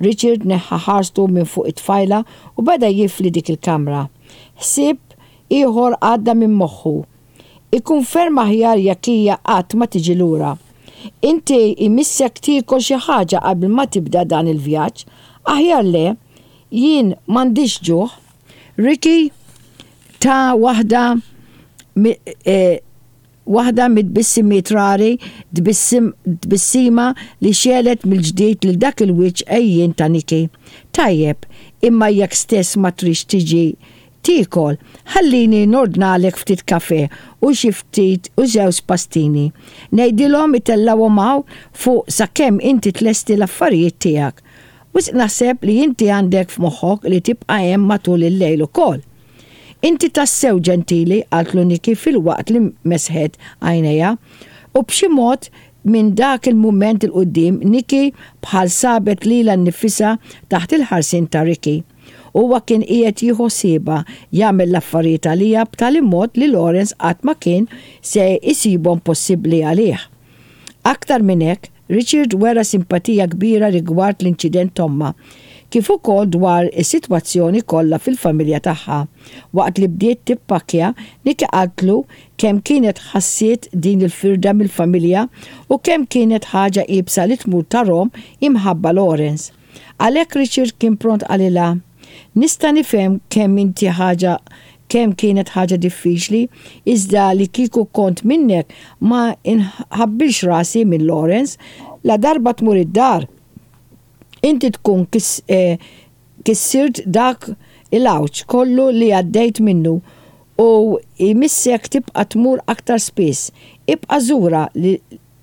Richard neħħa ħarstu minn fuq it-tfajla u beda jifli dik il-kamra. Ħsieb ieħor għadda minn moħħu. Ikun ferm aħjar jekk hija qatt ma tiġi lura. Inti jmissek tiekol xi ħaġa qabel ma tibda dan il-vjaġġ. Aħjar le. Jien m'għandix ġuħ. Ricky ta waħda Waħda mit-tbissimiet rari, tbissima li xegħlet mill-ġdid lil dak il-wiċċ għejjien ta' Nikki. Tajjeb, imma jekk stess ma tridx tiġi tiekol, ħallini nordnalek ftit kafè u xi ftit u żewġ pastini. Ngħidilhom itellgħuhom hawn fuq sakemm inti tlesti l-affarijiet tiegħek. Wisq naħseb li inti għandek f'moħħok li tibqa' hemm matul il-lejl ukoll. Inti tassew ġentili, qaltlu Nikki filwaqt li mesħet għajnejha. U b'xi mod, minn dak il-mument 'il quddiem, Nikki bħal sabet lilha nnifisha taħt il-ħarsien ta' Ricky. Huwa kien qiegħed jieħu ħsiebha, jagħmel l-affarijiet għaliha b'tali mod li Lawrence qatt ma kien se jsibhom possibbli għalih. Aktar minn hekk, Richard wera simpatija kbira rigward l-inċident t'ommha, kif ukoll dwar is-sitwazzjoni kollha fil-familja tagħha. Waqt li bdiet tippakkja, Nikki qaltlu kemm kienet ħassiet din il-firda mill-familja u kemm kienet ħaġa iebsa li tmur tarhom imħabba Lawrence. Għalhekk Richard kien pront qalilha, Nista' nifhem kemm inti ħaġa kemm kienet ħaġa diffiċli, iżda li kieku kont minnek ma nħabbilx rasi minn Lawrence, ladarba tmur id-dar inti tkun kissirt dak il-għawġ kollu li għaddejt minnu u jmissek tibqa' tmur aktar spiss. Ibqa' żura li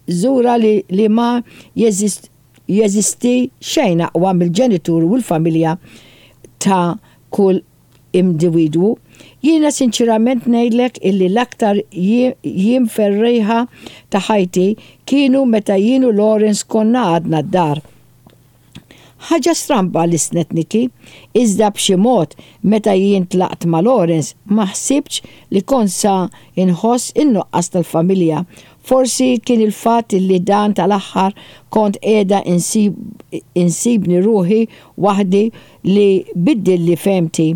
żura li li ma jeżisti xejn aqwa mill-ġenitur u l-familja ta' kull imdividwu. Jiena sinċierament ngħidlek illi l-aktar jiem ferrieħa ta' ħajti kienu meta jien u Lawrence konna għadna d-dar. Ħaġa stramba lissnet Nikki, iżda b'xi mod meta jien tlaqt ma' Lawrence ma ħsibtx li kont sa nħoss in-nuqqas tal-familja. Forsi kien il-fatt illi dan tal-aħħar kont qiegħda insibni ruħi waħdi li biddilli fehmti.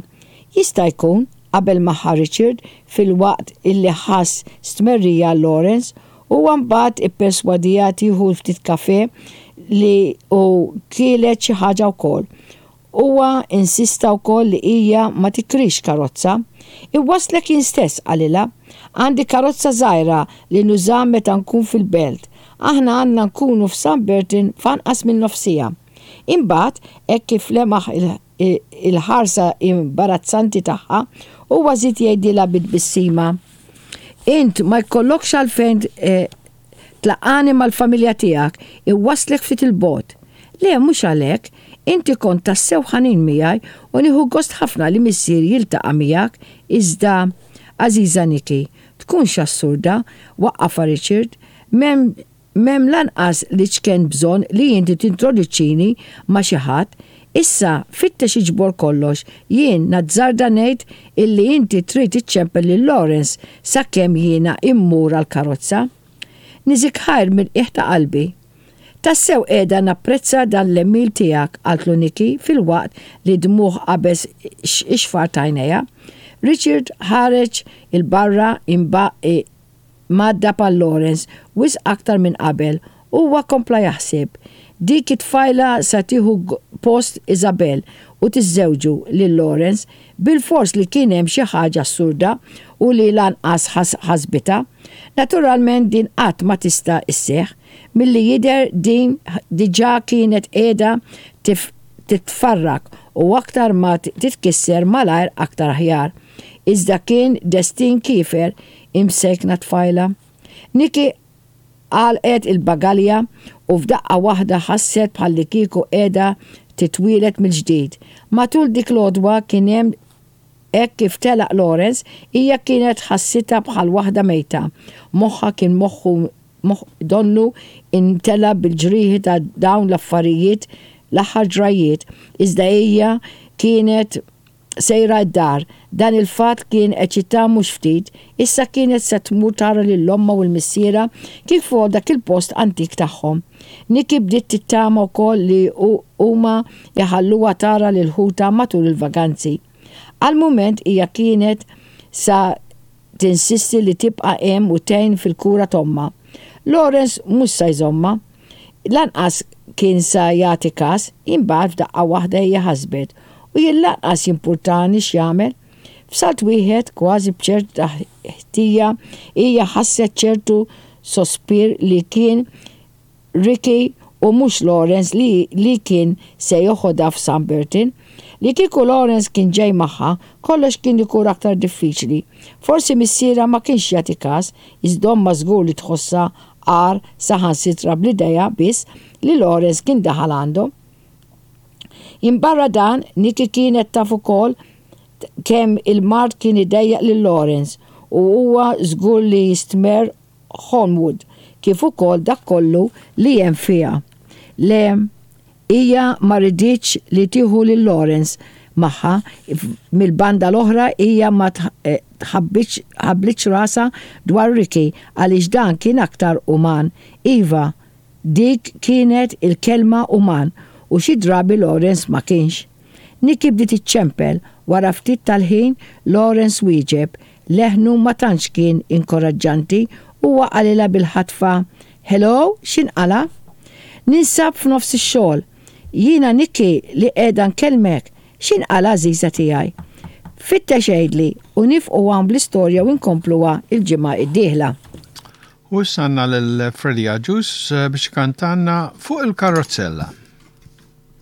Jista' jkun, qabel magħha Richard filwaqt illi ħass stmerrija għal Lawrence. Huwa mbagħad ipperswadiha tieħu ftit kafè li u kielet xi ħaġa wkoll. Huwa insista wkoll li hija ma tikrix karozza. Iwasslek jien stess, qalilha. Għandi karozza żgħira li nuża meta nkun fil-belt. Aħna għandna nkunu f'San Bertin f'anqas minn nofs siegħa. Imbagħad, hekk kif lemaħ il-ħarsa imbarazzanti tagħha, huwa żied jgħidilha bi tbissima, Int ma jkollokx għalfejn tlaqqagħni mal-familja tiegħek, iwasslek ftit 'il bogħod. Le, mhux għalhekk, inti kont tassew ħanin miegħi u nieħu gost ħafna li missieri jiltaqa' miegħek, iżda, għażiża Nikki, tkunx assurda, waqqafha Richard, m'hemm M'hemm lanqas l-iċken bżonn li inti tintroduċini ma' xi ħadd. Issa, fittex iġbor kollox, jien nazzarda ngħid illi inti trid iċċempel lil Lawrence sakemm jiena immur għall-karozza. Niżik ħajr mill-qiegħ ta' qalbi. Tassew qiegħda napprezza dan l-għemil tiegħek, qaltlu Nikki filwaqt li d-dmugħ qabeż ix-xfar t'għajnejha. Richard ħareġ 'il barra Mgħaddab għal Lawrence wisq aktar minn qabel, huwa kompla jaħseb, Dik it-tfajla sa tieħu post Isabelle u tiżżewġu lil Lawrence. Bilfors li kien hemm xi ħaġa assurda u li lanqas ħasbitha. Naturalment din qatt ma tista' sseħħ. Milli jidher din diġà kienet qiegħda titfarrak u aktar ma titkisser malajr aktar aħjar. Iżda kien destin kiefer Imsejkna tfajla. Nikki għalqet il-bagalja u f'daqqa waħda ħasset bħallikieku qiegħda titwieled mill-ġdid. Matul dik l-għodwa kien hemm hekk kif telaq Lawrence, hija kienet ħassitha bħal waħda mejta. Moħħha kien moħħu donnu imtela bil-ġrieħi ta' dawn l-affarijiet l-aħħar ġrajjiet, iżda hija kienet. sejra d-dar. Dan il-fatt kien eċitha mhux ftit. Issa kienet se tmur tara lil ommha u l-missierha kif ukoll dak il-post antik tagħhom. Nikki bdiet tittama wkoll li huma jħalluha tara lil ħutha matul il-vaganzi. Għal mument hija kienet sa tinsisti li tibqa' hemm u tgħin fil-kura t'ommha. Lawrence mhux sa jżommha. Lanqas kien sa jagħti kas, imbagħad f'daqqa waħda hija ħasbet, u jien lanqas jimpurtani x'jagħmel. F'salt wieħed, kważi b'ċerta ħtija, hija ħasset ċertu sospir li kien Ricky u mhux Lawrence li li kien se joħodha f'Sunburton. Li kieku Lawrence kien ġej magħha, kollox kien ikun aktar diffiċli. Forsi missierha ma kienx jagħti kas, iżda ommha żgur li tħossha agħar saħansitra bl-idea biss li Lawrence kien daħal għandhom. Minbarra dan, Nikki kienet taf ukoll kemm il-mard kien idejjaq lil Lawrence u huwa żgur li jistmerr Holmwood kif ukoll dak kollu li hemm fiha. Le, hija ma riditx li tieħu lil Lawrence magħha, mill-banda l-oħra hija ma tħabblitx rasha dwar Ricky għaliex dan kien aktar uman. Iva, dik kienet il-kelma uman u xi drabi Lawrence ma kienx. Nikki bdiet iċċempel, wara ftit tal-ħin Lawrence wieġeb, Leħnu ma tantx kien inkoraġġanti, huwa qalilha bil-ħatfa, Hello, x'inqala'? Ninsab f'nofs ix-xogħol. Jiena Nikki li qiegħda nkellmek. X'inqala' għażiża tiegħi? Fittex għidli u nifqu hawn bl-istorja u nkompluha l-ġimgħa d-dieħla. U issa għandna lil Freddie Agius biex ikantalna Fuq il-Karrozzella.